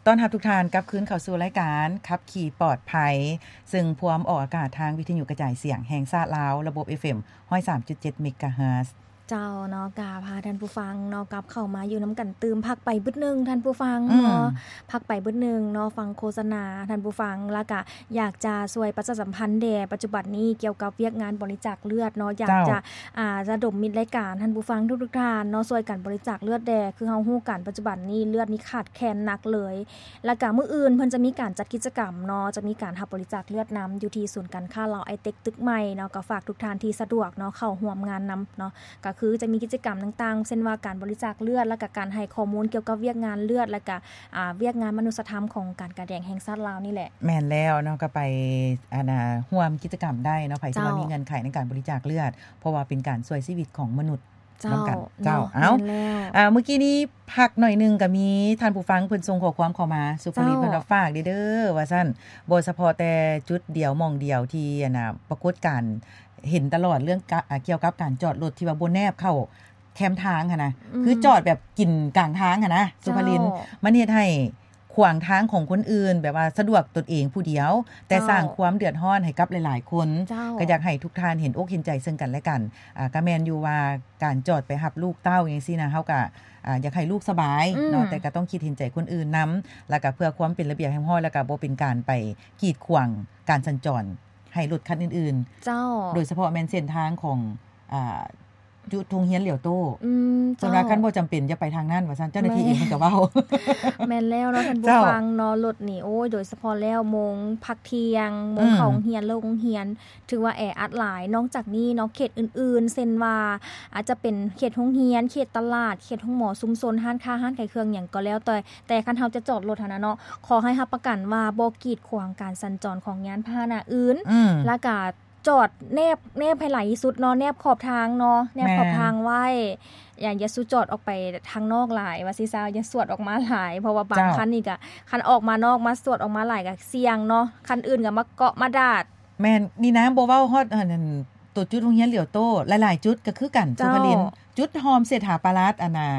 ຕ້ອນຮັບທຸກທ່ານກັບຄືນເຂົ້າສູ່ລາຍການຂັບຂີ່ປອດໄພ ເຊິ່ງພວມອອກອາກາດທາງວິທະຍຸກະຈາຍສຽງແຫ່ງຊາດລາວ ລະບົບ ເອັຟເອັມ ຮ້ອຍສາມຈຸດເຈັດ ເມກາເຮີດ. ເຈົ້າເນາະ ກະພາທ່ານຜູ້ຟັງເນາະ ກັບເຂົ້າມາຢູ່ນຳກັນຕື່ມ ພັກໄປບຶດໜຶ່ງທ່ານຜູ້ຟັງເນາະ ອືມ ພັກໄປບຶດໜຶ່ງເນາະ ຟັງໂຄສະນາທ່ານຜູ້ຟັງ ລະກະ ຢາກຈະຊ່ວຍປະຊາສຳພັນແດ່ ປັດຈຸບັນນີ້ກ່ຽວກັບວຽກງານບໍລິຈາກເລືອດເນາະ ຢາກຈະ ເຈົ້າ ອາ ລະດົມມິດລາຍການທ່ານຜູ້ຟັງທຸກໆທ່ານເນາະ ຊ່ວຍກັນບໍລິຈາກເລືອດແດ່ ຄືເຮົາຮູ້ກັນປັດຈຸບັນນີ້ເລືອດນີ້ຂາດແຄນໜັກເລີຍ ລະກະມື້ອື່ນເພິ່ນຈະມີການຈັດກິດຈະກຳເນາະ ຈະມີການຮັບບໍລິຈາກເລືອດນຳ ຢູ່ທີ່ສູນການຄ້າລາວໄອເຕັກຕຶກໃໝ່ເນາະ ກໍຝາກທຸກທ່ານທີ່ສະດວກເນາະ ເຂົ້າຮ່ວມງານນຳເນາະ ກໍຄືຈະມີກິດຈະກຳຕ່າງໆ ເຊັ່ນວ່າການບໍລິຈາກເລືອດ ລະກະການໃຫ້ຂໍ້ມູນກ່ຽວກັບວຽກງານເລືອດ ລະກະ ອາ ວຽກງານມະນຸດສະທຳຂອງການກາແດງແຫ່ງຊາດລາວນີ້ແຫຼະ. ແມ່ນແລ້ວເນາະ ກໍໄປ ອັນນ່າ ຮ່ວມກິດຈະກຳໄດ້ເນາະ ໃຜທີ່ວ່າ ເຈົ້າ ມີເງື່ອນໄຂໃນການບໍລິຈາກເລືອດ ເພາະວ່າເປັນການຊ່ວຍຊີວິດຂອງມະນຸດ ເຈົ້າ ນຳກັນ ເຈົ້າ ເນາະ ເອົາ ແມ່ນແລ້ວ ອາ ມື້ກີ້ນີ້ພັກໜ້ອຍໜຶ່ງ ກໍມີທ່ານຜູ້ຟັງເພິ່ນສົ່ງຂໍ້ຄວາມເຂົ້າມາ ສຸພະລິດ ເຈົ້າ ເພິ່ນວ່າຝາກເດີ້ ເດີ ວ່າຊັ້ນ ບໍ່ສະເພາະແຕ່ຈຸດດຽວ ໝ່ອງດຽວທີ່ ອັນນ່າ ປາກົດການເຫັນຕະຫຼອດ ເລື່ອງກະ ອາ ກ່ຽວກັບການຈອດລົດທີ່ວ່າບໍ່ແນບເຂົ້າ ແຄມທາງຫັ້ນນະ ອືມ ຄືຈອດແບບກິນກາງທາງຫັ້ນນະ ເຈົ້າ ສຸພະລິນ ມັນເຮັດໃຫ້ຂວາງທາງຂອງຄົນອື່ນ ແບບວ່າສະດວກຕົນເອງຜູ້ດຽວ ແຕ່ ເຈົ້າ ສ້າງຄວາມເດືອດຮ້ອນໃຫ້ກັບຫຼາຍໆຄົນ ເຈົ້າ ກໍຢາກໃຫ້ທຸກທ່ານເຫັນອົກເຫັນໃຈເຊິ່ງກັນແລະກັນ ອາ ກໍແມ່ນຢູ່ວ່າການຈອດໄປຮັບລູກເຕົ້າຈັ່ງຊີ້ນະ ເຮົາກໍ ອາ ຢາກໃຫ້ລູກສະບາຍເນາະ ອືມ ແຕ່ກໍຕ້ອງຄິດເຫັນໃຈຄົນອື່ນນຳ ແລ້ວກໍເພື່ອຄວາມເປັນລະບຽບຮຽບຮ້ອຍ ແລ້ວກໍບໍ່ເປັນການໄປກີດຂວາງການສັນຈອນໃຫ້ລົດຄັນອື່ນໆ ເຈົ້າ ໂດຍສະເພາະແມ່ນເສັ້ນທາງຂອງ ອາ ຈຸດໂຮງຮຽນຫຼຽວໂຕ້ ອືມ ເຈົ້າ ເພິ່ນວ່າຄັນບໍ່ຈຳເປັນຢ່າໄປທາງນັ້ນວ່າຊັ້ນ ເຈົ້າໜ້າທີ່ເອງເພິ່ນກໍເວົ້າ ແມ່ນແລ້ວເນາະທ່ານຜູ້ ເຈົ້າ ຟັງເນາະ ລົດນີ້ ໂອ້ຍ ໂດຍສະເພາະແລ້ວໂມງພັກທ່ຽງ ໂມງ ອືມ ເຂົ້າໂຮງຮຽນ ເລີກໂຮງຮຽນ ຖືວ່າແອອັດຫຼາຍ ນອກຈາກນີ້ເນາະ ເຂດອື່ນໆ ເຊັ່ນວ່າ ອາດຈະເປັນເຂດໂຮງຮຽນ ເຂດຕະຫຼາດ ເຂດໂຮງໝໍ ຊຸມຊົນ ຮ້ານຄ້າ ຮ້ານຂາຍເຄື່ອງຫຍັງກໍແລ້ວແຕ່ ແຕ່ຄັນເຮົາຈະຈອດລົດຫັ້ນນະເນາະ ຂໍໃຫ້ຮັບປະກັນວ່າບໍ່ກີດຂວາງການສັນຈອນຂອງຍານພາຫະນະອື່ນ ອືມ ລະກະ ຈອດແນບ ແນບໃຫ້ຫຼາຍທີ່ສຸດເນາະ ແນບຂອບທາງເນາະ ແນບຂອບ ແມ່ນ ທາງໄວ້ ຢ່າ ຢ່າສູ່ຈອດອອກໄປທາງນອກຫຼາຍ ວ່າຊິຊາວ ຢ່າສວດອອກມາຫຼາຍ ເພາະວ່າບາງ ເຈົ້າ ຄັນນີ້ກະ ຄັນອອກມານອກ ມາສວດອອກມາຫຼາຍກະສ່ຽງເນາະ ຄັນອື່ນກະມາເກາະມາດາດ ແມ່ນ ນີ້ນະ ບໍ່ເວົ້າຮອດ ອັນ ອັນ ໂຕຈຸດໂຮງຮຽນຫຼຽວໂຕ້ ຫຼາຍໆຈຸດກະຄືກັນ ເຈົ້າ ສຸພະລິນ ຈຸດຮ່ອມເສດຖາປາລາດ ອັນນ່າ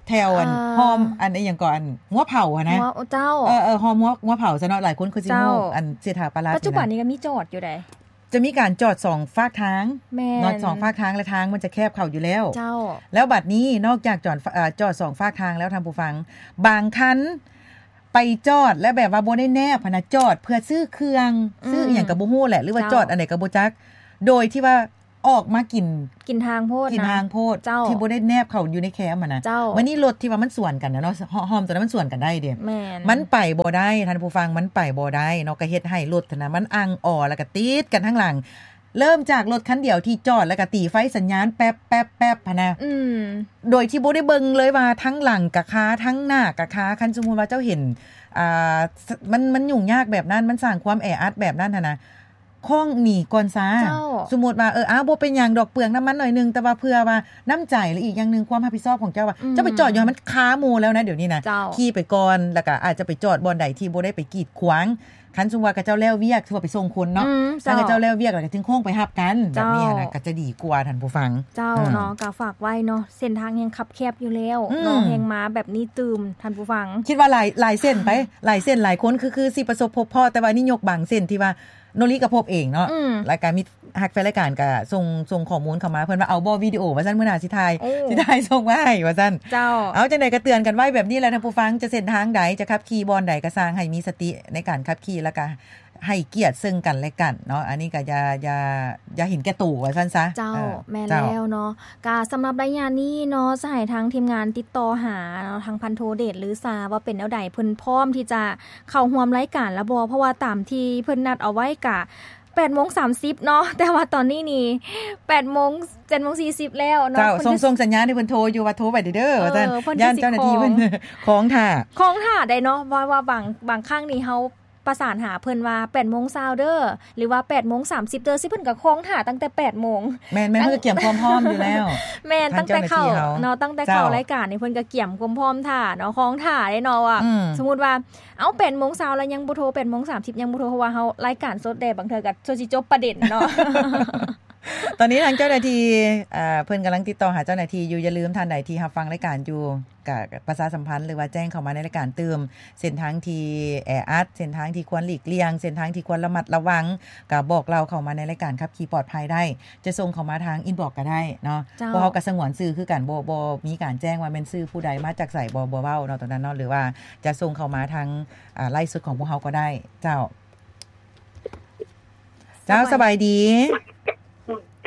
ແຖວ ອັນ ອ່າ ຮ່ອມ ອັນ ອີ່ຫຍັງເກາະ ອັນ ງົວເຜົາຫັ້ນນະ ງົວ ເຈົ້າ ເອີ ເອີ ຮ່ອມງົວ ງົວເຜົາຊະເນາະ ຫຼາຍຄົນຄືຊິຮູ້ ເຈົ້າ ອັນ ເສດຖາປາລາດ ປັດຈຸບັນນີ້ກະມີຈອດຢູ່ໃດ ຈະມີການຈອດສອງຟາກທາງ ແມ່ນ ເນາະ ສອງຟາກທາງ ແລະ ທາງມັນຈະແຄບເຂົ້າຢູ່ແລ້ວ ເຈົ້າ ແລ້ວບັດນີ້ນອກຈາກຈອດ ເອີ ຈອດສອງຟາກທາງແລ້ວທ່ານຜູ້ຟັງ ບາງຄັນໄປຈອດແລ້ວແບບວ່າບໍ່ໄດ້ແນບຫັ້ນນະ ຈອດເພື່ອຊື້ເຄື່ອງ ອືມ ຊື້ອີ່ຫຍັງກໍບໍ່ຮູ້ແຫຼະ ຫຼືວ່າ ເຈົ້າ ຈອດອັນໃດກໍບໍ່ຈັກ ໂດຍທີ່ວ່າອອກມາກິນ ກິນທາງໂພດ ກິນທາງໂພດ ເຈົ້າ ທີ່ບໍ່ໄດ້ແນບເຂົ້າຢູ່ໃນແຄມຫັ້ນນະ ເຈົ້າ ບາດນີ້ລົດທີ່ວ່າມັນສວນກັນນະເນາະ ຮ່ອມ ຮ່ອມໂຕນັ້ນມັນສວນກັນໄດ້ເດ້ ແມ່ນ ມັນໄປບໍ່ໄດ້ທ່ານຜູ້ຟັງ ມັນໄປບໍ່ໄດ້ເນາະ ກໍເຮັດໃຫ້ລົດຫັ້ນນະ ມັນອັ່ງອໍ ແລ້ວກໍຕິດກັນທາງຫຼັງ ເລີ່ມຈາກລົດຄັນດຽວທີ່ຈອດ ແລ້ວກໍຕີໄຟສັນຍານແປັບໆໆຫັ້ນນະ ອືມ ໂດຍທີ່ບໍ່ໄດ້ເບິ່ງເລີຍວ່າທາງຫຼັງກະຄາ ທາງໜ້າກະຄາ ຄັນສົມມຸດວ່າເຈົ້າເຫັນ ອ່າ ມັນ ມັນຫຍຸ້ງຍາກແບບນັ້ນ ມັນສ້າງຄວາມແອອັດແບບນັ້ນຫັ້ນນະ ຄ້ອງໜີກ່ອນຊາ ເຈົ້າ ສົມມຸດວ່າ ເອີ ອ້າວ ບໍ່ເປັນຫຍັງດອກ ເປືອງນ້ຳມັນໜ້ອຍໜຶ່ງ ແຕ່ວ່າເພື່ອວ່ານ້ຳໃຈ ແລະ ອີກຢ່າງໜຶ່ງຄວາມຮັບຜິດຊອບຂອງເຈົ້າວ່າ ອືມ ເຈົ້າໄປຈອດຢູ່ຫັ້ນ ມັນຄາໝູ່ແລ້ວນະ ດຽວນີ້ນະ ເຈົ້າ ຂີ່ໄປກ່ອນ ແລ້ວກໍອາດຈະໄປຈອດບ່ອນໃດທີ່ບໍ່ໄດ້ໄປກີດຂວາງ ຄັນສົມມຸດວ່າເຂົາເຈົ້າແລ້ວວຽກ ຄືວ່າໄປສົ່ງຄົນເນາະ ອືມ ເຈົ້າ ຄັນເຂົາເຈົ້າແລ້ວວຽກແລ້ວກໍຈຶ່ງໂຄ້ງໄປຮັບກັນ ເຈົ້າ ແບບນີ້ນະ ກໍຈະດີກວ່າທ່ານຜູ້ຟັງ ເຈົ້າ ອືມ ເນາະ ກໍຝາກໄວ້ເນາະ ເສັ້ນທາງແຮ່ງຄັບແຄບຢູ່ແລ້ວ ອືມ ເນາະ ແຮ່ງມາແບບນີ້ຕື່ມ ທ່ານຜູ້ຟັງ ຄິດວ່າຫຼາຍ ຫຼາຍເສັ້ນໄປ ຫຼາຍເສັ້ນ ຫຼາຍຄົນ ຄື ຄືຊິປະສົບພົບພໍ້ ແຕ່ວ່ານີ້ຍົກບາງເສັ້ນທີ່ວ່າ ໂນລິກໍພົບເອງເນາະ ອືມ ແລ້ວກໍມີ ຮັກແຟນລາຍການກໍສົ່ງ ສົ່ງຂໍ້ມູນເຂົ້າມາ ເພິ່ນວ່າເອົາບໍ່ວິດີໂອວ່າຊັ້ນ ມື້ໜ້າຊິຖ່າຍ ໂອ້ ຊິຖ່າຍສົ່ງມາໃຫ້ວ່າຊັ້ນ ເຈົ້າ ເອົາ ຈັ່ງໃດກໍເຕືອນກັນໄວ້ແບບນີ້ແຫຼະທ່ານຜູ້ຟັງ ຈະເສັ້ນທາງໃດ ຈະຂັບຂີ່ບ່ອນໃດກໍຊ່າງ ໃຫ້ມີສະຕິໃນການຂັບຂີ່ ແລ້ວກໍໃຫ້ກຽດເຊິ່ງກັນແລະກັນເນາະ ອັນນີ້ກໍຢ່າ ຢ່າ ຢ່າເຫັນແກ່ໂຕວ່າຊັ້ນຊະ ເຈົ້າ ເອີ ແມ່ນ ເຈົ້າ ແລ້ວເນາະ ກະສຳລັບໄລຍະນີ້ເນາະ ຈະໃຫ້ທາງທີມງານຕິດຕໍ່ຫາເນາະ ທາງພັນໂທເດດ ຫຼື ຊາ ວ່າເປັນແນວໃດ ເພິ່ນພ້ອມທີ່ຈະເຂົ້າຮ່ວມລາຍການແລ້ວບໍ່ ເພາະວ່າຕາມທີ່ເພິ່ນນັດເອົາໄວ້ກະ ແປດໂມງສາມສິບເນາະ ແຕ່ວ່າຕອນນີ້ນີ້ ແປດໂມງ ເຈັດໂມງສີ່ສິບແລ້ວເນາະ ເຈົ້າ ເພິ່ນ ສົ່ງ ສົ່ງສັນຍານໃຫ້ເພິ່ນໂທຢູ່ວ່າ ໂທໄປເດີ້ ເອີ ວ່າຊັ້ນ ຢ້ານເຈົ້າໜ້າທີ່ເພິ່ນ ເພິ່ນຊິ ຂອງ ຂອງຖ້າ ຂອງຖ້າໄດ້ເນາະ ວ່າ ວ່າບາງ ບາງຄັ້ງນີ້ເຮົາປະສານຫາເພິ່ນວ່າ ແປດໂມງຊາວເດີ້ ຫຼືວ່າ ແປດໂມງສາມສິບເດີ້ ຊິເພິ່ນກໍຂອງຖ້າຕັ້ງແຕ່ແປດໂມງ ແມ່ນໆ ເພິ່ນກໍກຽມຄວາມພ້ອມຢູ່ແລ້ວ ແມ່ນ ຕັ້ງແຕ່ເຂົ້າເນາະ ຕັ້ງແຕ່ເຂົ້າລາຍການນີ້ ເພິ່ນກໍກຽມຄວາມພ້ອມຖ້າເນາະ ຂອງຖ້າເດ້ເນາະ ວ່າ ອືມ ສົມມຸດວ່າ ເອົ້າ ແປດໂມງຊາວແລ້ວຍັງບໍ່ໂທ ແປດໂມງສາມສິບຍັງບໍ່ໂທ ເພາະວ່າເຮົາລາຍການສົດເດ້ ບາງເທື່ອກໍຊົວຊິຈົບປະເດັນເນາະ ຕອນນີ້ທາງເຈົ້າໜ້າທີ່ ເອີ ເພິ່ນກຳລັງຕິດຕໍ່ຫາເຈົ້າໜ້າທີ່ຢູ່ ຢ່າລືມທ່ານໃດທີ່ຮັບຟັງລາຍການຢູ່ ກະປະຊາສຳພັນ ຫຼືວ່າແຈ້ງເຂົ້າມາໃນລາຍການຕື່ມ ເສັ້ນທາງທີ່ແອອັດ, ເສັ້ນທາງທີ່ຄວນຫຼີກລ່ຽງ, ເສັ້ນທາງທີ່ຄວນລະມັດລະວັງ ກະບອກເລົ່າເຂົ້າມາໃນລາຍການຂັບຂີ່ປອດໄພໄດ້. ຈະສົ່ງເຂົ້າມາທາງອິນບັອກກະໄດ້ເນາະ. ເຈົ້າ. ພວກເຮົາກະສະຫງວນຊື່ຄືກັນ, ບໍ່ ບໍ່ມີການແຈ້ງວ່າແມ່ນຊື່ຜູ້ໃດມາຈາກໃສ, ບໍ່ ບໍ່ເວົ້າເນາະ ໂຕນັ້ນເນາະ. ຫຼືວ່າຈະສົ່ງເຂົ້າມາທາງ ອາ ໄລຟ໌ສົດຂອງພວກເຮົາກໍໄດ້. ເຈົ້າ. ເຈົ້າ ສະບາຍດີ.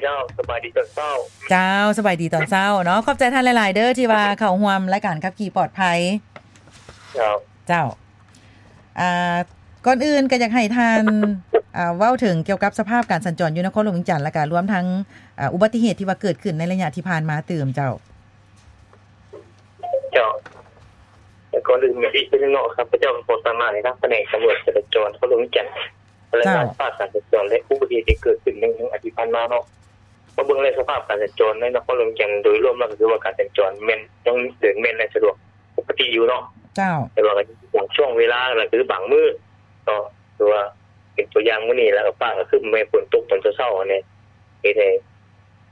ເຈົ້າ ສະບາຍດີຕອນເຊົ້າ. ເຈົ້າ ສະບາຍດີຕອນເຊົ້າເນາະ. ຂອບໃຈທ່ານຫຼາຍໆເດີ ທີ່ວ່າເຂົ້າຮ່ວມລາຍການຂັບຂີ່ປອດໄພ. ເຈົ້າ. ເຈົ້າ. ອາ ກ່ອນອື່ນກໍຢາກໃຫ້ທ່ານ ອາ ເວົ້າເຖິງກ່ຽວກັບສະພາບການສັນຈອນຢູ່ນະຄອນຫຼວງວຽງຈັນ ແລ້ວກໍລວມທັງ ອາ ອຸບັດຕິເຫດທີ່ວ່າເກີດຂຶ້ນໃນໄລຍະທີ່ຜ່ານມາຕື່ມ. ເຈົ້າ. ເຈົ້າ. ແລະ ກ່ອນອື່ນອີກເທື່ອໜຶ່ງເນາະ ຂ້າພະເຈົ້າກໍຂໍຕາມມາໃນທາງພະແນກຕຳຫຼວດຈະລາຈອນນະຄອນຫຼວງວຽງຈັນ ລາຍງານສະພາບການສັນຈອນ ແລະ ອຸບັດຕິເຫດທີ່ເກີດຂຶ້ນໃນອາທິດຜ່ານມາເນາະ. ມາເບິ່ງແລ້ວສະພາບການສັນຈອນໃນນະຄອນຫຼວງວຽງຈັນໂດຍລວມແລ້ວ ກໍຖືວ່າການສັນຈອນແມ່ນຍັງເດີນແມ່ນ ແລະ ສະດວກປົກກະຕິຢູ່ເນາະ. ເຈົ້າ. ແຕ່ວ່າກໍບາງຊ່ວງເວລາ ກໍຄືບາງມື້ເນາະ ຄືວ່າເປັນຕົວຢ່າງມື້ນີ້ ແລ້ວກໍຟ້າກໍຄຶ້ມ ແມ່ນຝົນຕົກຕອນເຊົ້າໆ ອັນນີ້ເຮັດໃຫ້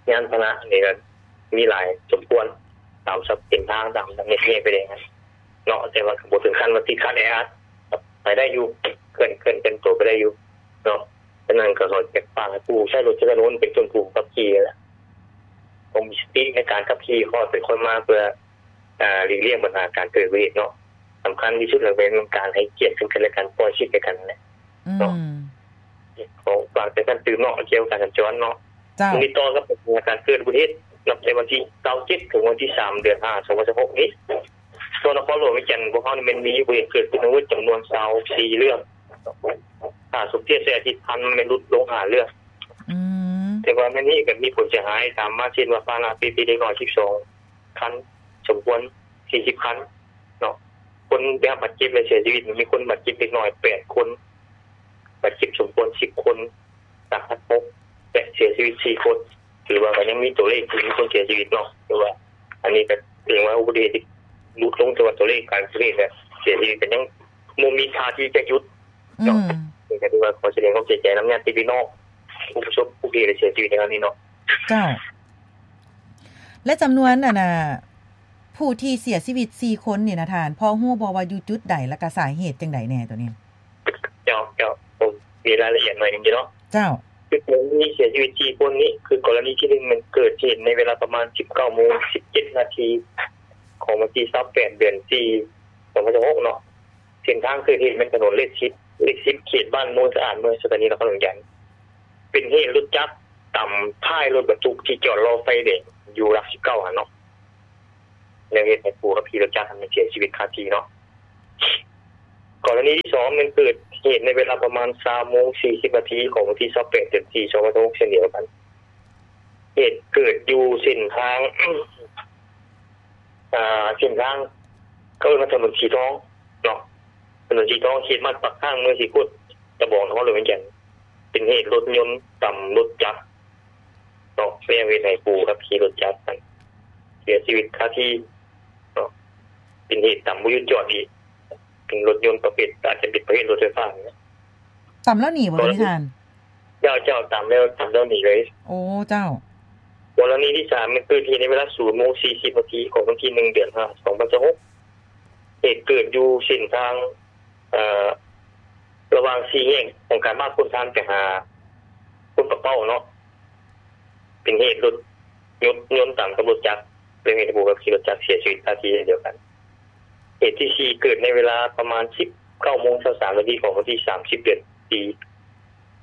ຍານພາຫະນະນີ້ກໍມີຫຼາຍສົມຄວນ ຕາມເສັ້ນທາງ ຕາມທາງແຍກໄຟແດງເນາະ. ແຕ່ວ່າກໍບໍ່ເຖິງຂັ້ນວ່າຕິດຂັດແອອັດ ໄປໄດ້ຢູ່ ເຄື່ອນ ເຄື່ອນ ເຄື່ອນໂຕໄປໄດ້ຢູ່ເນາະ. ສະນັ້ນກໍຂໍຝາກໃຫ້ຜູ້ໃຊ້ລົດໃຊ້ຖະໜົນ ເປັນຕົ້ນຜູ້ຂັບຂີ່ແຫຼະ ຕ້ອງມີສະຕິໃນການຂັບຂີ່ຄ່ອຍໄປຄ່ອຍມາ ເພື່ອ ອາ ຫຼີກລ່ຽງບັນຫາການເກີດອຸບັດຕິເຫດເນາະ. ສຳຄັນທີ່ສຸດແລ້ວແມ່ນການໃຫ້ກຽດເຊິ່ງກັນແລະກັນ ປ່ອຍສິດໃຫ້ກັນແຫຼະເນາະ. ອືມ. ຂໍຝາກເຕືອນເນາະ ກ່ຽວກັບການສັນຈອນເນາະ. ເຈົ້າ. ຕິດຕໍ່ກັບການເກີດອຸບັດຕິເຫດ ນັບແຕ່ວັນທີຊາວເຈັດ ເຖິງວັນທີສາມ ເດືອນຫ້າ ສອງພັນຊາວຫົກນີ້ ສ່ວນນະຄອນຫຼວງວຽງຈັນ ພວກເຮົານີ້ແມ່ນມີອຸບັດຕິເຫດເກີດຂຶ້ນທັງໝົດຈຳນວນຊາວສີ່ເລື່ອງ ຖ້າສົມທຽບໃສ່ອາທິດຜ່ານມາແມ່ນຫຼຸດລົງຫ້າເລື່ອງ. ອືມ. ແຕ່ວ່າໃນນີ້ກໍມີຜົນເສຍຫາຍຕາມມາ ເຊັ່ນວ່າ ພາຫະນະເປັນເດັກນ້ອຍສິບສອງຄັນ, ສົມຄວນສີ່ສິບຄັນເນາະ. ຄົນໄດ້ຮັບບາດເຈັບ ແລະ ເສຍຊີວິດ ມີຄົນບາດເຈັບເດັກນ້ອຍແປດຄົນ, ບາດເຈັບສົມຄວນສິບຄົນ, ສາຫັດຫົກ ແລະ ເສຍຊີວິດສີ່ຄົນ. ຖືວ່າກໍຍັງມີຕົວເລກທີ່ມີຄົນເສຍຊີວິດເນາະ. ຖືວ່າອັນນີ້ກໍຖືວ່າອຸບັດຕິເຫດທີ່ຫຼຸດລົງ, ແຕ່ວ່າຕົວເລກການເສຍຊີວິດ ແລະ ເສຍຊີວິດກໍຍັງບໍ່ມີທ່າທີຈະຢຸດເນາະ. ອືມ. ນີ້ກໍຖືວ່າຂໍສະແດງຄວາມເສຍໃຈນຳຍາດຕິພີ່ນ້ອງຜູ້ປະສົບອຸບັດຕິເຫດ ແລະ ເສຍຊີວິດໃນຄັ້ງນີ້ເນາະ. ເຈົ້າ. ແລະ ຈຳນວນ ອັນນ່າ ຜູ້ທີ່ເສຍຊີວິດສີ່ຄົນນີ້ນະທ່ານ ພໍຮູ້ບໍ່ວ່າຢູ່ຈຸດໃດ ແລ້ວກະສາເຫດຈັ່ງໃດແດ່ໂຕນີ້? ເຈົ້າ ເຈົ້າ ມີລາຍລະອຽດໜ້ອຍໜຶ່ງຢູ່ເນາະ. ເຈົ້າ. ຄືກໍລະນີເສຍຊີວິດສີ່ຄົນນີ້ ຄືກໍລະນີທີໜຶ່ງ ແມ່ນເກີດເຫດໃນເວລາປະມານສິບເກົ້າໂມງສິບເຈັດນາທີ ຂອງວັນທີຊາວແປດ ເດືອນສີ່ ສອງພັນຊາວຫົກເນາະ. ເສັ້ນທາງເກີດເຫດແມ່ນຖະໜົນເລກສິບ ເລກສິບ ເຂດບ້ານໂນນສະອາດ ເມືອງໄຊທານີ ນະຄອນຫຼວງວຽງຈັນ. ເປັນເຫດລົດຈັກຕຳທ້າຍລົດບັນທຸກທີ່ຈອດລໍໄຟແດງຢູ່ຫຼັກສິບເກົ້າຫັ້ນເນາະ. ແລ້ວເຮັດໃຫ້ຜູ້ຂັບຂີ່ລົດຈັກຫັ້ນເສຍຊີວິດຄາທີ່ເນາະ. ກໍລະນີທີສອງແມ່ນເກີດເຫດໃນເວລາປະມານຊາວໂມງສີ່ສິບນາທີ ຂອງວັນທີຊາວແປດ ເດືອນສີ່ ສອງພັນຊາວຫົກ ເຊັ່ນດຽວກັນ. ເຫດເກີດຢູ່ເສັ້ນທາງ ອ່າ ເສັ້ນທາງ ເຂົາເອີ້ນວ່າຖະໜົນສີທອງເນາະ, ຖະໜົນສີທອງ ເຂດບ້ານປາກຂ້າງ ເມືອງສີໂຄດຕະບອງ ນະຄອນຫຼວງວຽງຈັນ. ເປັນເຫດລົດຍົນຕຳລົດຈັກເນາະ, ແລ້ວເຮັດໃຫ້ຜູ້ຂັບຂີ່ລົດຈັກນັ້ນເສຍຊີວິດຄາທີ່ເນາະ. ເປັນເຫດຕຳບໍ່ຢຸດຈອດອີກ, ເປັນລົດຍົນປະເພດ ອາດຈະເປັນປະເພດລົດໄຟຟ້ານີ້ແຫຼະ. ຕຳແລ້ວໜີບໍ່ ທ່ານ? ເຈົ້າ ເຈົ້າ ຕຳແລ້ວ ຕຳແລ້ວໜີເລີຍ. ໂອ້ ເຈົ້າ. ກໍລະນີທີສາມແມ່ນເກີດເຫດໃນເວລາສູນໂມງສີ່ສິບນາທີ ຂອງວັນທີໜຶ່ງ ເດືອນຫ້າ ສອງພັນຊາວຫົກ. ເຫດເກີດຢູ່ເສັ້ນທາງ ເອີ ລະຫວ່າງສີ່ແຍກຂອງການບ້ານໂພນທານໄປຫາໂພນປາເປົ້າເນາະ. ເປັນເຫດລົດຍົນ ຍົນຕຳກັບລົດຈັກ ແລ້ວເຮັດໃຫ້ຜູ້ຂັບຂີ່ລົດຈັກເສຍຊີວິດຄາທີ່ເຊັ່ນດຽວກັນ. ເຫດທີສີ່ເກີດໃນເວລາປະມານສິບເກົ້າໂມງຊາວສາມນາທີ ຂອງວັນທີສາມສິບ ເດືອນສີ່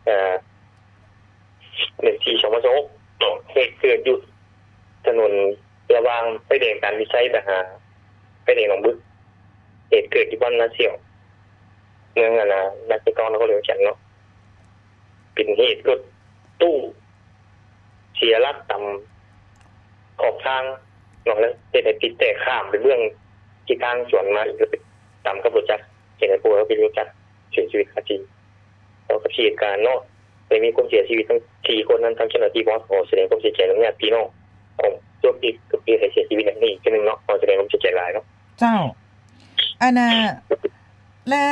ເອີ ເດືອນສີ່ ສອງພັນຊາວຫົກເນາະ. ເຫດເກີດຢູ່ຖະໜົນລະຫວ່າງໄຟແດງການວິໄຊໄປຫາໄຟແດງໜອງບຶກ. ເຫດເກີດຢູ່ບ້ານນາສ່ຽວ ເມືອງ ອັນນ່າ ນາຊຽວເກົ່າ ນະຄອນຫຼວງວຽງຈັນເນາະ. ເປັນເຫດລົດຕູ້ເສຍຫຼັກຕຳຂອບທາງເນາະ ແລ້ວເຮັດໃຫ້ຕິດແຕກຂ້າມໄປເບື້ອງທິດທາງສວນມາ ແລ້ວໄປຕຳກັບລົດຈັກ ເຮັດໃຫ້ຜູ້ຂັບຂີ່ລົດຈັກເສຍຊີວິດຄາທີ່. ຕໍ່ກັບເຫດການເນາະ ໄດ້ມີຄົນເສຍຊີວິດທັງສີ່ຄົນນັ້ນ ທາງເຈົ້າໜ້າທີ່ພວກເຮົາຂໍສະແດງຄວາມເສຍໃຈນຳຍາດພີ່ນ້ອງຂອງຜູ້ທີ່ເກີດເຫດໃຫ້ເສຍຊີວິດໃນຄັ້ງນີ້ອີກເທື່ອໜຶ່ງເນາະ. ຂໍສະແດງຄວາມເສຍໃຈຫຼາຍເນາະ. ເຈົ້າ. ອັນນ່າ ແລະ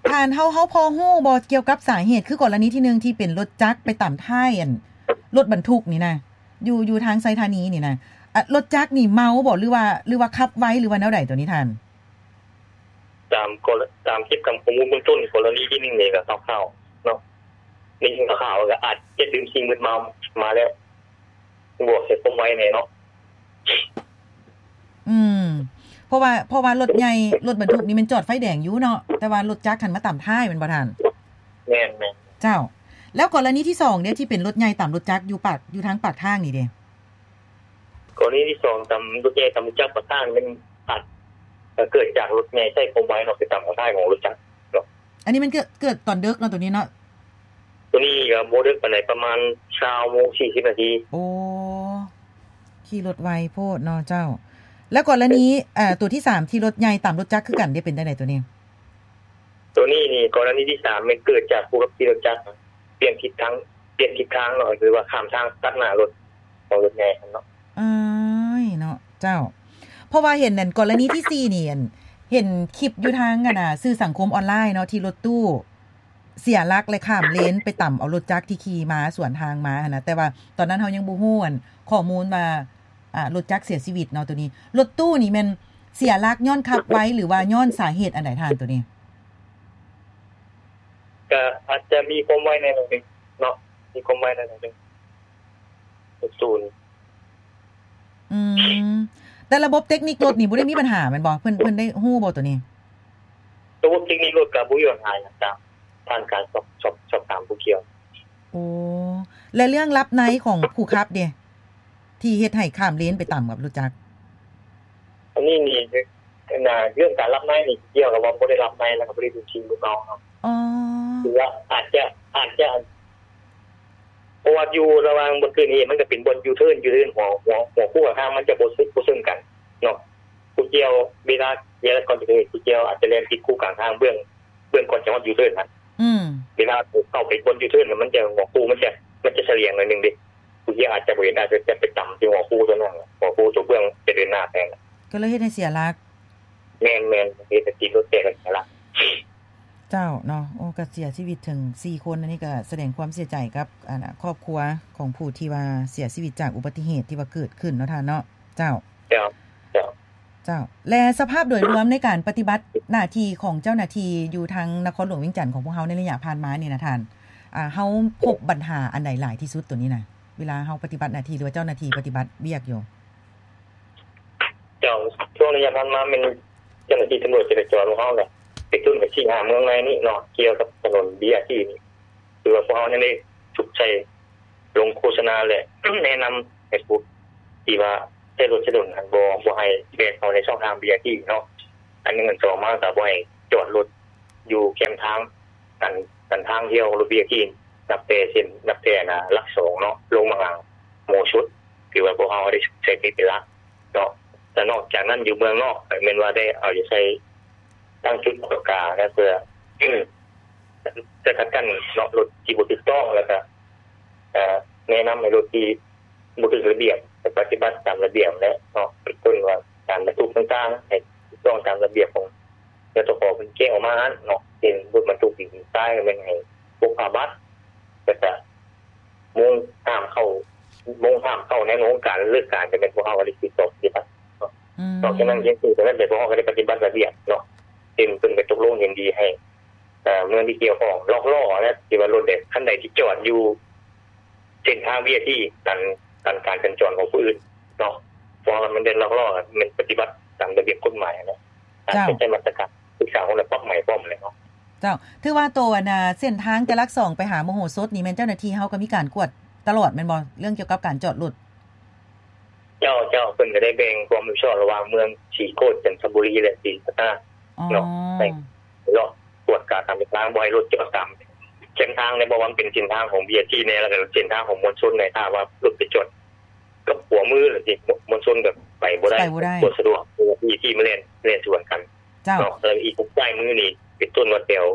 ທ່ານ ເຮົາ ເຮົາພໍຮູ້ບໍ່ກ່ຽວກັບສາເຫດ ຄືກໍລະນີທີໜຶ່ງທີ່ເປັນລົດຈັກໄປຕຳທ້າຍ ອັນ ລົດບັນທຸກນີ້ນະ ຢູ່ ຢູ່ທາງໄຊທານີນີ້ນະ ອາ ລົດຈັກນີ້ເມົາບໍ່ ຫຼືວ່າ ຫຼືວ່າຂັບໄວ ຫຼືວ່າແນວໃດໂຕນີ້ທ່ານ? ຕາມກໍ ຕາມເກັບກຳຂໍ້ມູນເບື້ອງຕົ້ນ ກໍລະນີທີໜຶ່ງນີ້ກໍຄ່າວໆເນາະ ໄດ້ຍິນຂ່າວໆ ກໍອາດຈະດື່ມສິ່ງມຶນເມົາມາແລ້ວ ບວກໃສ່ຄວາມໄວແດ່ເນາະ. ອືມ ເພາະວ່າ ເພາະວ່າລົດໃຫຍ່ ລົດບັນທຸກນີ້ແມ່ນຈອດໄຟແດງຢູ່ເນາະ ແຕ່ວ່າລົດຈັກຫັ້ນມາຕຳທ້າຍແມ່ນບໍ່ທ່ານ? ແມ່ນໆ. ເຈົ້າ ແລ້ວກໍລະນີທີສອງເດ ທີ່ເປັນລົດໃຫຍ່ຕຳລົດຈັກຢູ່ປາກ ຢູ່ທາງປາກທາງນີ້ເດ? ກໍລະນີທີສອງ ຕຳລົດໃຫຍ່ຕຳລົດຈັກປະທານ ມັນອາດ ເກີດຈາກລົດໃຫຍ່ໃຊ້ຄວາມໄວເນາະ ໄປຕຳປະທານຂອງລົດຈັກເນາະ. ອັນນີ້ມັນເກີດ ເກີດຕອນເດິກເນາະ ໂຕນີ້ເນາະ? ໂຕນີ້ກໍບໍ່ເດິກປານໃດ ປະມານຊາວໂມງສີ່ສິບນາທີ. ໂອ້ ຂີ່ລົດໄວໂພດເນາະເຈົ້າ. ແລ້ວກໍລະນີ ໂຕທີສາມ ທີ່ລົດໃຫຍ່ຕຳລົດຈັກຄືກັນເດ ເປັນຈັ່ງໃດໂຕນີ້? ໂຕນີ້ນີ້ ກໍລະນີທີສາມ ແມ່ນເກີດຈາກຜູ້ຂັບຂີ່ລົດຈັກ ປ່ຽນທິດທາງ ປ່ຽນທິດທາງເນາະ ຫຼືວ່າຂ້າມທາງຕັດໜ້າລົດຂອງລົດໃຫຍ່ຫັ້ນເນາະ. ເອີຍເນາະ ເຈົ້າ ເພາະວ່າເຫັນອັນກໍລະນີທີສີ່ນີ້ ອັນ ເຫັນຄລິບຢູ່ທາງອັນນ່າ ສື່ສັງຄົມອອນລາຍເນາະ ທີ່ລົດຕູ້ເສຍຫຼັກ ແລະ ຂ້າມເລນໄປຕຳເອົາລົດຈັກທີ່ຂີ່ມາສວນທາງມາຫັ້ນນະ ແຕ່ວ່າຕອນນັ້ນເຮົາຍັງບໍ່ຮູ້ອັນຂໍ້ມູນວ່າ ອາ ລົດຈັກເສຍຊີວິດເນາະ. ໂຕນີ້ລົດຕູ້ນີ້ແມ່ນເສຍຫຼັກຍ້ອນຂັບໄວ ຫຼືວ່າຍ້ອນສາເຫດອັນໃດທ່ານ ໂຕນີ້? ກະອາດຈະມີຄວາມໄວແດ່ໜ້ອຍໜຶ່ງເນາະ ມີຄວາມໄວແດ່ໜ້ອຍໜຶ່ງ ສູນ. ອືມ ແຕ່ລະບົບເຕັກນິກລົດນີ້ບໍ່ໄດ້ມີບັນຫາແມ່ນບໍ່? ເພິ່ນ ເພິ່ນໄດ້ຮູ້ບໍ່ໂຕນີ້? ລະບົບເຕັກນິກລົດກະບໍ່ມີບັນຫາຫຍັງ ຕາມຜ່ານການສອບ ສອບ ສອບຖາມຜູ້ກ່ຽວ. ໂອ້ ແລະ ເລື່ອງຫຼັບໃນຂອງຜູ້ຂັບເດ ທີ່ເຮັດໃຫ້ຂ້າມເລນໄປຕຳກັບລົດຈັກ? ອັນນີ້ນີ້ ເລື່ອງການຫຼັບໃນນີ້ກ່ຽວກັບວ່າບໍ່ໄດ້ຫຼັບໃນ ແລ້ວກໍບໍ່ໄດ້ດື່ມສິ່ງມຶນເມົາເນາະ. ອໍ ຄືວ່າອາດຈະ ອາດຈະ ເພາະວ່າຢູ່ລະຫວ່າງບ່ອນເກີດເຫດ ມັນກໍເປັນບ່ອນຢູເທີນ ຢູເທີນຫົວ ຫົວ ຫົວຄູ່ກັບທາງ ມັນຈະບໍ່ ບໍ່ເຊິ່ງກັນເນາະ. ຜູ້ກ່ຽວເວລາ ເວລາກ່ອນຈະເກີດເຫດ ຜູ້ກ່ຽວອາດຈະແລ່ນຜິດຄູ່ກາງທາງ ເບື້ອງ ເບື້ອງກ່ອນຈະຮອດຢູເທີນຫັ້ນ. ອືມ ເວລາເຂົ້າໄປບ່ອນຢູເທີນ ມັນຈະ ຫົວຄູ່ມັນຈະ ມັນຈະສະຫຼຽງໜ້ອຍໜຶ່ງເດ. ຜູ້ກ່ຽວອາດຈະບໍ່ເຫັນ ອາດຈະໄປຕຳທີ່ຫົວຄູ່ຕົວນັ້ນ ຫົວຄູ່ຕົວເບື້ອງຈະເດີນໜ້າແທນ ກໍເລີຍເຮັດໃຫ້ເສຍຫຼັກ. ແມ່ນໆ ເຮັດໃຫ້ຕີນລົດແຕກ ແລ້ວກໍສະຫຼະ. ເຈົ້າເນາະ ໂອ້ ກໍເສຍຊີວິດເຖິງສີ່ຄົນ. ອັນນີ້ກໍສະແດງຄວາມເສຍໃຈກັບ ອັນ ຄອບຄົວຂອງຜູ້ທີ່ວ່າເສຍຊີວິດຈາກອຸບັດຕິເຫດທີ່ວ່າເກີດຂຶ້ນເນາະທ່ານເນາະ. ເຈົ້າ ເຈົ້າ ເຈົ້າ ເຈົ້າ ແລະ ສະພາບໂດຍລວມໃນການປະຕິບັດໜ້າທີ່ຂອງເຈົ້າໜ້າທີ່ຢູ່ທາງນະຄອນຫຼວງວຽງຈັນຂອງພວກເຮົາໃນໄລຍະຜ່ານມານີ້ນະທ່ານ ອາ ເຮົາພົບບັນຫາອັນໃດຫຼາຍທີ່ສຸດໂຕນີ້ນະ ເວລາເຮົາປະຕິບັດໜ້າທີ່ ຫຼືວ່າເຈົ້າໜ້າທີ່ປະຕິບັດວຽກຢູ່? ເຈົ້າ ຊ່ວງໄລຍະຜ່ານມາແມ່ນເຈົ້າໜ້າທີ່ຕຳຫຼວດຈະລາຈອນຂອງເຮົາແຫຼະ ໄປຕົ້ນກັນສີ່ຫ້າເມືອງໃນນີ້ເນາະ ກ່ຽວກັບຖະໜົນບີອາທີນີ້ ຄືວ່າພວກເຮົາຍັງໄດ້ສຸກໃສ່ລົງໂຄສະນາ ແລະ ແນະນຳໃຫ້ຜູ້ທີ່ວ່າໃຊ້ລົດໃຊ້ຖະໜົນຫັ້ນ ບໍ່ ບໍ່ໃຫ້ແລ່ນເຂົ້າໃນຊ່ອງທາງບີອາທີເນາະ ອັນໜຶ່ງ. ອັນສອງມາກໍບໍ່ໃຫ້ຈອດລົດຢູ່ແຄມທາງ ກັນ ກັນທາງທ່ຽວລົດບີອາທີ ນັບແຕ່ເສັ້ນ ນັບແຕ່ ອັນ ຫຼັກສອງເນາະ ລົງມາຫາໂມສົດ ຖືວ່າພວກເຮົາໄດ້ໃຊ້ເປັນຫຼັກເນາະ. ແລະ ນອກຈາກນັ້ນຢູ່ເມືອງນອກ ແມ່ນວ່າໄດ້ເອົາໃຈໃສ່ຕັ້ງຈຸດກວດກາ ແລະ ເພື່ອສະກັດກັ້ນເນາະ ລົດທີ່ບໍ່ຖືກຕ້ອງ ແລ້ວກະ ເອີ ແນະນຳໃຫ້ລົດທີ່ບໍ່ຖືກລະບຽບ ປະຕິບັດຕາມລະບຽບແຫຼະເນາະ ເປັນຕົ້ນວ່າການບັນທຸກຕ່າງໆ ໃຫ້ຖືກຕ້ອງຕາມລະບຽບຂອງ ແລະ ເຈົ້າຂອງເພິ່ນແຈ້ງອອກມາຫັ້ນເນາະ ເຊັ່ນ ລົດບັນທຸກດິນຊາຍ ແມ່ນໃຫ້ປົກຜ້າບັດ ແລ້ວກະໂມງຫ້າມເຂົ້າ ໂມງຫ້າມເຂົ້າໃນໂຮງການ ເລີກການ ກໍແມ່ນພວກເຮົາກໍໄດ້ສືບຕໍ່ປະຕິບັດເນາະ. ອືມ ນອກຈາກນັ້ນ ເຮັດໃຫ້ເຈົ້າໜ້າທີ່ພວກເຮົາກໍໄດ້ປະຕິບັດລະບຽບເນາະ ເຊັ່ນ ເພິ່ນກໍຕົກລົງເຫັນດີໃຫ້ ເອີ ເມືອງທີ່ກ່ຽວຂ້ອງລັອກລໍ້ນະ ທີ່ວ່າລົດໃດ ຄັນໃດທີ່ຈອດຢູ່ ເສັ້ນທາງວີໄອພີ ຕັນ ຕັນການສັນຈອນຂອງຜູ້ອື່ນເນາະ ເພາະວ່າມັນເປັນລັອກລໍ້ ແມ່ນປະຕິບັດຕາມລະບຽບກົດໝາຍຫັ້ນແຫຼະ ອາດຈະໃຊ້ມາດຕະການສຶກສາຄົນ ແລະ ປັບໃໝເພີ່ມແຫຼະເນາະ. ເຈົ້າ ຖືວ່າໂຕ ອັນ ເສັ້ນທາງຈະຫຼັກສອງໄປຫາໂມໂຫສົດນີ້ ແມ່ນເຈົ້າໜ້າທີ່ເຮົາກໍມີການກວດຕະຫຼອດແມ່ນບໍ່ ເລື່ອງກ່ຽວກັບການຈອດລົດ? ເຈົ້າ ເຈົ້າ ເພິ່ນກໍໄດ້ແບ່ງຄວາມຮັບຜິດຊອບລະຫວ່າງເມືອງສີໂຄດ ຈັນທະບູລີ ແລະ ສີພັດທະນາເນາະ ອໍ ໄປເລາະກວດກາຕາມເສັ້ນທາງ ບໍ່ໃຫ້ລົດຈອດຕາມເສັ້ນທາງ ແລະ ບໍ່ວ່າມັນເປັນເສັ້ນທາງຂອງບີອາທີແດ່ ແລ້ວກໍເສັ້ນທາງຂອງມວນຊົນແດ່ ຖ້າວ່າລົດໄປຈອດກັບຂົວມື ແລ້ວຊິມວນຊົນກໍໄປບໍ່ໄດ້ ໄປບໍ່ໄດ້ ບໍ່ສະດວກ ເພາະວ່າບີອາທີມັນແລ່ນ ແລ່ນສວນກັນ ເຈົ້າ ເນາະ ແລ້ວອີກຂວາມືນີ້ ເປັນຕົ້ນວ່າແຖວ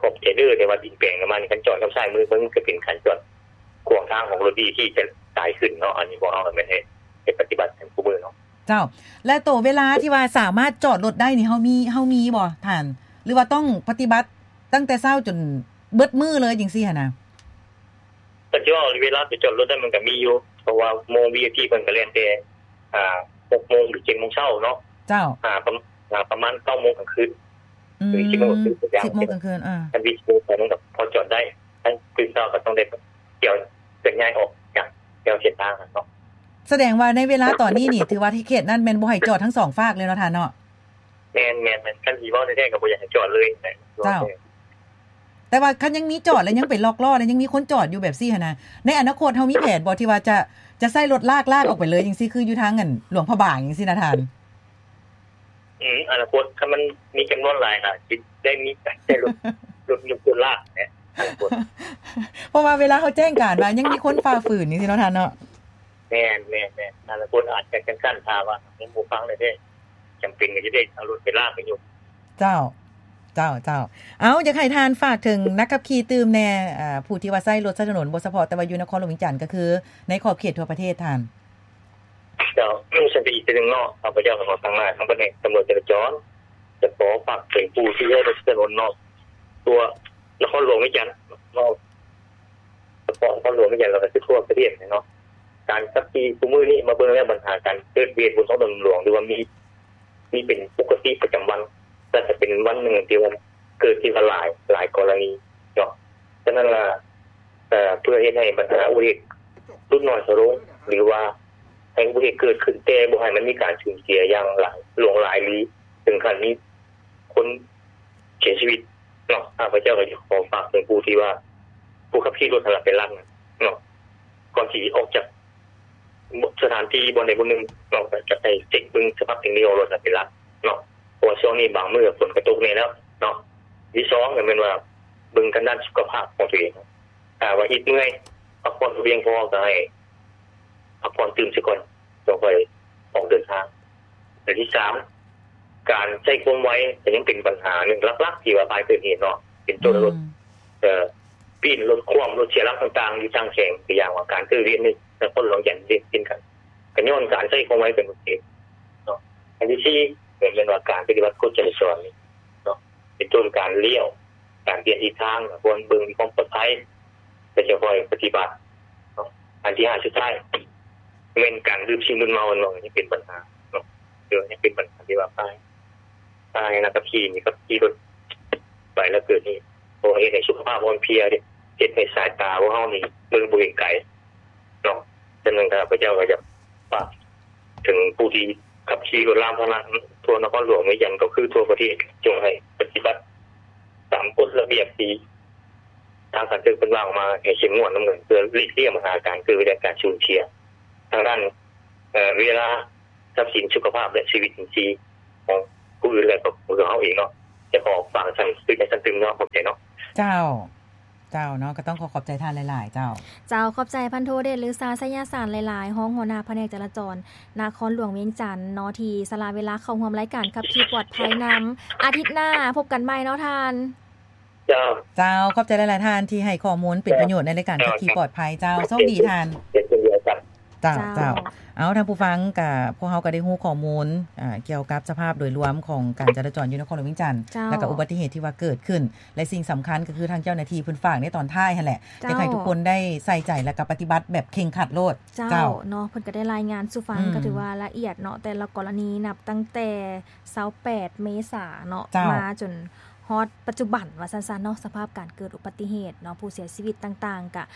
ຂອບເທລເດີ ແຖວວັດດິນແປງປະມານນີ້ ຄັນຈອດກັບຊ້າຍມື ມັນກໍເປັນການຈອດຂວາງທາງຂອງລົດບີອາທີຈະຫຼາຍຂຶ້ນເນາະ. ອັນນີ້ພວກເຮົາແມ່ນເຮັດ ເຮັດປະຕິບັດກັນຄູ່ມື້ເນາະ. ເຈົ້າ ແລະ ໂຕເວລາທີ່ວ່າສາມາດຈອດລົດໄດ້ນີ້ ເຮົາມີ ເຮົາມີບໍ່ທ່ານ ຫຼືວ່າຕ້ອງປະຕິບັດຕັ້ງແຕ່ເຊົ້າຈົນເບິດມື້ເລີຍຈັ່ງຊີ້ຫັ້ນນະ? ກໍຊິເວົ້າເວລາໄປຈອດລົດນັ້ນ ມັນກໍມີຢູ່ ເພາະວ່າໂມງວີໄອພີເພິ່ນກໍແລ່ນແຕ່ ອ່າ ຫົກໂມງ ຫຼື ເຈັດໂມງເຊົ້າເນາະ ເຈົ້າ ອ່າ ປະມານ ອ່າ ປະມານເກົ້າໂມງກາງຄືນ ອືມ ຫຼື ສິບໂມງກາງຄືນ ສິບໂມງກາງຄືນ ອ່າ ຄັນສິບໂມງກາງຄືນກໍພໍຈອດໄດ້ ຄັນຕື່ນເຊົ້າກໍຕ້ອງໄດ້ ເຄື່ອນຍ້າຍອອກຈາກແນວເສັ້ນທາງຫັ້ນເນາະ. ສະແດງວ່າໃນເວລາຕອນນີ້ນີ້ ຖືວ່າເຂດນັ້ນແມ່ນບໍ່ໃຫ້ຈອດທັງສອງຟາກເລີຍເນາະທ່ານເນາະ? ແມ່ນໆໆ ຄັນຊິເວົ້າແທ້ໆກໍບໍ່ຢາກໃຫ້ຈອດເລີຍແຫຼະ. ເຈົ້າ ແຕ່ວ່າຄັນຍັງມີຈອດ ແລະ ຍັງໄປລັອກລໍ້ ແລະ ຍັງມີຄົນຈອດຢູ່ແບບຊີ້ຫັ້ນນະ ໃນອະນາຄົດເຮົາມີແຜນບໍ່ ທີ່ວ່າຈະ ຈະໃຊ້ລົດລາກ ລາກອອກໄປເລີຍຈັ່ງຊີ້ ຄືຢູ່ທາງອັນຫຼວງພະບາງຈັ່ງຊີ້ນະທ່ານ? ອືມ ອະນາຄົດຄັນມັນມີຈຳນວນຫຼາຍ ອາດຊິໄດ້ມີການໃຊ້ລົດ ລົດຍົກ ລົດລາກແຫຼະ ອະນາຄົດ ເພາະວ່າເວລາເຮົາແຈ້ງການວ່າຍັງມີຄົນຝ່າຝືນຈັ່ງຊີ້ເນາະທ່ານເນາະ. ແມ່ນໆໆ ອະນາຄົດອາດຈະຈັ່ງຊັ້ນ ຖ້າວ່າຍັງບໍ່ຟັງແທ້ໆ ຈຳເປັນກໍຈະໄດ້ເອົາລົດໄປລາກໄປຍົກ. ເຈົ້າ ເຈົ້າ ເຈົ້າ ເອົາ ຢາກໃຫ້ທ່ານຝາກເຖິງນັກຂັບຂີ່ຕື່ມແດ່ ເອີ ຜູ້ທີ່ວ່າໃຊ້ລົດໃຊ້ຖະໜົນ ບໍ່ສະເພາະແຕ່ວ່າຢູ່ນະຄອນຫຼວງວຽງຈັນ ກໍຄືໃນຂອບເຂດທົ່ວປະເທດທ່ານ. ເຈົ້າ ຊັ້ນໄປອີກເທື່ອໜຶ່ງເນາະ ຂ້າພະເຈົ້າກໍຂໍຕັ້ງໜ້າທາງພະແນກຕຳຫຼວດຈະລາຈອນ ຈະຂໍຝາກເຖິງຜູ້ທີ່ໃຊ້ລົດໃຊ້ຖະໜົນເນາະ ທົ່ວນະຄອນຫຼວງວຽງຈັນເນາະ ສະເພາະນະຄອນຫຼວງວຽງຈັນ ແລ້ວກໍຄືທົ່ວປະເທດເນາະ ການຂັບຂີ່ຊຸມື້ນີ້ມາເບິ່ງແລ້ວ ບັນຫາການເກີດເຫດບົນທ້ອງຖະໜົນຫຼວງ ຫຼືວ່າມີ ມີເປັນປົກກະຕິປະຈຳວັນ ແລະ ຈະເປັນວັນໜຶ່ງທີ່ວ່າເກີດທີ່ວ່າຫຼາຍ ຫຼາຍກໍລະນີເນາະ. ສະນັ້ນລະ ເພື່ອເຮັດໃຫ້ບັນຫາອຸບັດຕິເຫດຫຼຸດໜ້ອຍຖອຍລົງ ຫຼືວ່າໃຫ້ອຸບັດຕິເຫດເກີດຂຶ້ນ ແຕ່ບໍ່ໃຫ້ມັນມີການສູນເສຍຢ່າງຫຼາຍ ຫຼວງຫຼາຍ ຫຼື ເຖິງຂັ້ນມີຄົນເສຍຊີວິດເນາະ, ຂ້າພະເຈົ້າກໍຢາກຂໍຝາກເຖິງຜູ້ທີ່ວ່າ ຜູ້ຂັບຂີ່ລົດຫັ້ນລະເປັນຫຼັກເນາະ ກ່ອນຊິອອກຈາກ ສະຖານທີ່ບ່ອນໃດບ່ອນໜຶ່ງເນາະ ກໍໃຫ້ເຊັກເບິ່ງສະພາບເຕັກນິກຂອງລົດຫັ້ນເປັນຫຼັກເນາະ ເພາະວ່າຊ່ວງນີ້ບາງມື້ຝົນກໍຕົກແນ່ແລ້ວເນາະ. ທີສອງກໍແມ່ນວ່າເບິ່ງທາງດ້ານສຸຂະພາບຂອງຕົວເອງ ຖ້າວ່າອິດເມື່ອຍ ພັກຜ່ອນບໍ່ພຽງພໍ ກໍໃຫ້ພັກຜ່ອນຕື່ມຊະກ່ອນ ຈັ່ງຄ່ອຍອອກເດີນທາງ. ແລະ ທີສາມ ການໃຊ້ຄວາມໄວກໍຍັງເປັນບັນຫາໜຶ່ງຫຼັກໆ ທີ່ວ່າພາໃຫ້ເກີດເຫດເນາະ ເປັນຕົ້ນ ອືມ ລົດ ເອີ ປີ້ນ ລົດຂວ້ຳ ລົດເສຍຫຼັກຕ່າງໆ ຢູ່ທາງແຂວງ ຕົວຢ່າງວ່າການເກີດເຫດໃນນະຄອນຫຼວງວຽງຈັນເຊັ່ນກັນ ກໍຍ້ອນການໃຊ້ຄວາມໄວເປັນຕົ້ນເນາະ. ອັນທີສີ່ ກໍແມ່ນວ່າການປະຕິບັດກົດຈະລາຈອນເນາະ ເປັນຕົ້ນການລ້ຽວ ການປ່ຽນທິດທາງ ຄວນເບິ່ງມີຄວາມປອດໄພ ແລະ ຈະຄ່ອຍປະຕິບັດເນາະ. ອັນທີຫ້າ ສຸດທ້າຍ ແມ່ນການດື່ມສິ່ງມຶນເມົາເນາະ ຍັງເປັນບັນຫາເນາະ ເອີ ຍັງເປັນບັນຫາທີ່ວ່າພາ ພາໃຫ້ນັກຂັບຂີ່ນີ້ຂັບຂີ່ລົດໄປແລ້ວເກີດເຫດ ເພາະວ່າເຮັດໃຫ້ສຸຂະພາບອ່ອນເພຍເດ້ ເຮັດໃຫ້ສາຍຕາພວກເຮົານີ້ເບິ່ງບໍ່ເຫັນໄກເນາະ. ສະນັ້ນຂ້າພະເຈົ້າກໍຢາກຝາກເຖິງຜູ້ທີ່ຂັບຂີ່ລົດລາງພາຫະນະທົ່ວນະຄອນຫຼວງວຽງຈັນ ກໍຄືທົ່ວປະເທດ ຈົ່ງໃຫ້ປະຕິບັດຕາມກົດລະບຽບທີ່ທາງການເມືອງເພິ່ນວາງອອກມາໃຫ້ເຂັ້ມງວດນຳກັນ ເພື່ອຫຼີກລ້ຽງບັນຫາການເກີດເຫດການສູນເສຍທາງດ້ານ ເອີ ເວລາ ຊັບສິນ ສຸຂະພາບ ແລະ ຊີວິດຈິງຊີຂອງຜູ້ອື່ນ ແລະ ກໍຂອງເຮົາເອງເນາະ. ຈະຂໍຝາກຊັ້ນ ຄືຈັ່ງຊັ້ນຕື່ມເນາະ ຂອບໃຈເນາະ. ເຈົ້າ ເຈົ້າເນາະ ກໍຕ້ອງຂໍຂອບໃຈທ່ານຫຼາຍໆ ເຈົ້າ. ເຈົ້າ ຂອບໃຈພັນໂທ ເດດລືຊາ ໄຊຍະສານ ຫຼາຍໆ ຮອງຫົວໜ້າພະແນກຈະລາຈອນນະຄອນຫຼວງວຽງຈັນເນາະ ທີ່ສະຫຼະເວລາເຂົ້າຮ່ວມລາຍການຂັບຂີ່ປອດໄພນຳ. ອາທິດໜ້າພົບກັນໃໝ່ເນາະທ່ານ. ເຈົ້າ ເຈົ້າ ຂອບໃຈຫຼາຍໆ ທ່ານທີ່ໃຫ້ຂໍ້ມູນເປັນປະໂຫຍດໃນລາຍການຂັບຂີ່ປອດໄພເຈົ້າ. ໂຊກດີທ່ານ. ເຈົ້າ ເຈົ້າ ເຈົ້າ ເອົາ ທ່ານຜູ້ຟັງ ກະ ພວກເຮົາກໍໄດ້ຮູ້ຂໍ້ມູນ ອ່າ ກ່ຽວກັບສະພາບໂດຍລວມຂອງການຈະລາຈອນຢູ່ນະຄອນຫຼວງວຽງຈັນ ເຈົ້າ ແລ້ວກໍອຸບັດຕິເຫດທີ່ວ່າເກີດຂຶ້ນ ແລະ ສິ່ງສຳຄັນກໍຄືທາງເຈົ້າໜ້າທີ່ເພິ່ນຝາກໃນຕອນທ້າຍຫັ້ນແຫຼະ ເຈົ້າ ຢາກໃຫ້ທຸກຄົນໄດ້ໃສ່ໃຈ ແລ້ວກໍປະຕິບັດແບບເຄັ່ງຄັດໂລດ. ເຈົ້າ ເຈົ້າ ເນາະ ເພິ່ນກໍໄດ້ລາຍງານສູ່ຟັງ ອືມ ກໍຖືວ່າລະອຽດເນາະ ແຕ່ລະກໍລະນີນັບຕັ້ງແຕ່ຊາວແປດເມສາເນາະ ເຈົ້າ ມາຈົນ ຮອດປັດຈຸບັນວ່າຊັ້ນໆເນາະ ສະພາບການເກີດອຸບັດຕິເຫດເນາະ ຜູ້ເສຍຊີວິດຕ່າງໆ ກະ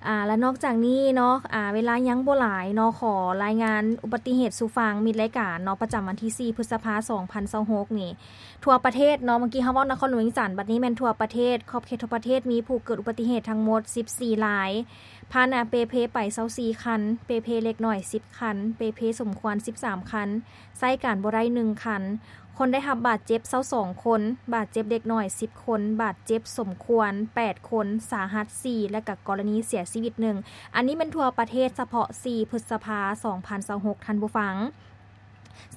ອ່າ ແລະ ນອກຈາກນີ້ເນາະ ອ່າ ເວລາຍັງບໍ່ຫຼາຍເນາະ ຂໍລາຍງານອຸບັດຕິເຫດສູ່ຟັງມິດລາຍການເນາະ ປະຈຳວັນທີສີ່ ພຶດສະພາ ສອງພັນຊາວຫົກນີ້ ທົ່ວປະເທດເນາະ ເມື່ອກີ້ເຮົາເວົ້ານະຄອນຫຼວງວຽງຈັນ ບັດນີ້ແມ່ນທົ່ວປະເທດ ຂອບເຂດທົ່ວປະເທດມີຜູ້ເກີດອຸບັດຕິເຫດທັງໝົດສິບສີ່ລາຍ ພາຫະນະເປ່ເພໄປຊາວສີ່ຄັນ ເປ່ເພເລັກນ້ອຍສິບຄັນ ເປ່ເພສົມຄວນສິບສາມຄັນ ໃຊ້ການບໍ່ໄດ້ໜຶ່ງຄັນ ຄົນໄດ້ຮັບບາດເຈັບຊາວສອງຄົນ ບາດເຈັບເດັກນ້ອຍສິບຄົນ ບາດເຈັບສົມຄວນແປດຄົນ ສາຫັດສີ່ ແລະ ກະກໍລະນີເສຍຊີວິດໜຶ່ງ. ອັນນີ້ແມ່ນທົ່ວປະເທດ ສະເພາະສີ່ ພຶດສະພາ ສອງພັນຊາວຫົກ ທ່ານຜູ້ຟັງ.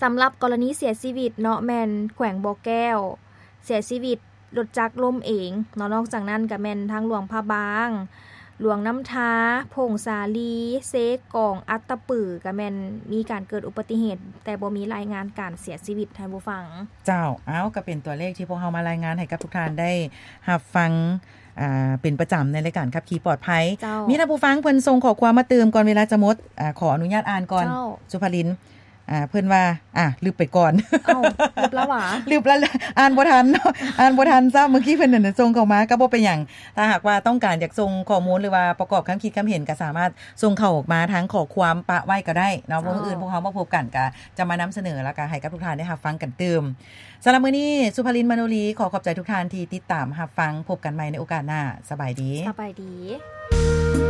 ສຳລັບກໍລະນີເສຍຊີວິດເນາະ ແມ່ນແຂວງບໍ່ແກ້ວ ເສຍຊີວິດລົດຈັກລົ້ມເອງເນາະ. ນອກຈາກນັ້ນກະແມ່ນທາງຫຼວງພະບາງ, ຫຼວງນ້ຳທາ, ຜົ້ງສາລີ, ເຊກອງ, ອັດຕະປື ກະແມ່ນມີການເກີດອຸບັດຕິເຫດ ແຕ່ບໍ່ມີລາຍງານການເສຍຊີວິດ ທ່ານຜູ້ຟັງ. ເຈົ້າ, ເອົ້າ, ກະເປັນຕົວເລກທີ່ພວກເຮົາມາລາຍງານໃຫ້ກັບທຸກທ່ານໄດ້ຮັບຟັງ ອ່າ ເປັນປະຈຳໃນລາຍການຂັບຂີ່ປອດໄພ. ເຈົ້າ. ມີທ່ານຜູ້ຟັງເພິ່ນສົ່ງຂໍ້ຄວາມມາຕື່ມກ່ອນເວລາຈະໝົດ, ອາ, ຂໍອະນຸຍາດອ່ານກ່ອນ. ເຈົ້າ. ສຸພາລິນ. ອ່າ ເພິ່ນວ່າ ອ່າ ລຶບໄປກ່ອນ. ເອົ້າ ລຶບແລ້ວຫວາ? ລຶບແລ້ວ ອ່ານບໍ່ທັນເນາະ ອ່ານບໍ່ທັນຊ້ຳ. ເມື່ອກີ້ເພິ່ນນັ້ນສົ່ງເຂົ້າມາ ກໍບໍ່ເປັນຫຍັງ. ຖ້າຫາກວ່າຕ້ອງການຢາກສົ່ງຂໍ້ມູນ ຫຼືວ່າປະກອບຄຳຄິດຄຳເຫັນ ກໍສາມາດສົ່ງເຂົ້າມາທາງຂໍ້ຄວາມປະໄວ້ກໍໄດ້ເນາະ. ມື້ອື່ນພວກເຮົາມາພົບກັນ ກໍຈະມານຳສະເໜີ ແລ້ວກໍໃຫ້ກັບທຸກທ່ານໄດ້ຮັບຟັງກັນຕື່ມ. ສຳລັບມື້ນີ້ ສຸພາລິນ ມະໂນລີ ຂໍຂອບໃຈທຸກທ່ານທີ່ຕິດຕາມຮັບຟັງ. ພົບກັນໃໝ່ໃນໂອກາດໜ້າ. ສະບາຍດີ. ສະບາຍດີ.